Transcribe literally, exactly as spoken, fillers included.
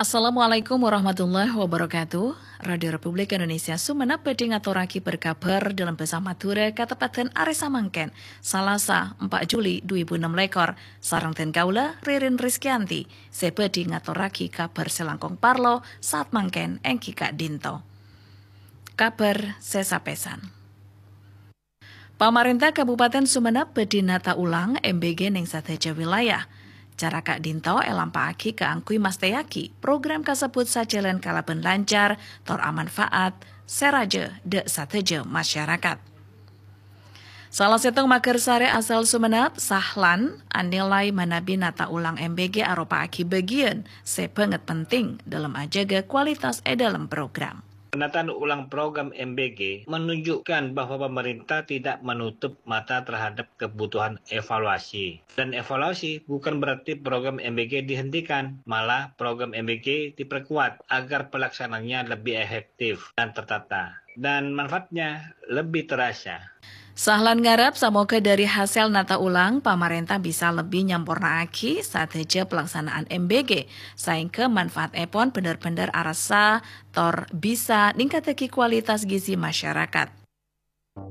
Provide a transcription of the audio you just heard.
Assalamualaikum warahmatullahi wabarakatuh. Radio Republik Indonesia Sumenep bhâdhi ngatorraghi berkabar dâlem bhâsa Madhurâ kateppadhân arè samangkèn, Salasa, empa' Juli dhu èbu ennem lèkor, sareng dhân kaulâ, Ririn Rizkyanti, sè bhâdhi ngatorraghi kabar sè langkong parlo saat mangkèn èngghi ka'dinto. Kabar sè sapèsan. Pamarènta Kabupaten Sumenep bhâdhi nata ulang M B G neng sadhâjâ wilayah. Cara ka'dinto èlampa'aghi kaangghuy mastèyaghi program kasebbhut sajhâlân kalabân lancar tor amanfaat sè rajâ dâ' sadhâjâ masyarakat. Sala sèttong maghârsarè asal Sumenep, Sahlan, anilai manabi nata ulang M B G aropa'aghi bâgiyân sè bângèt penting dâlem ajâgâ kualitas è dâlem program. Penataan ulang program M B G menunjukkan bahwa pemerintah tidak menutup mata terhadap kebutuhan evaluasi. Dan evaluasi bukan berarti program M B G dihentikan, malah program M B G diperkuat agar pelaksanaannya lebih efektif dan tertata, dan manfaatnya lebih terasa. Sahlan ngarep samoga dâri hasèl nata ulang, pamarènta bisa lebbi nyampornaaghi sadhâjâ pelaksanaan M B G, saèngghâ manfaatèpon bhender-bhender arassa tor bisa ningkattaghi kualitas gizi masyarakat.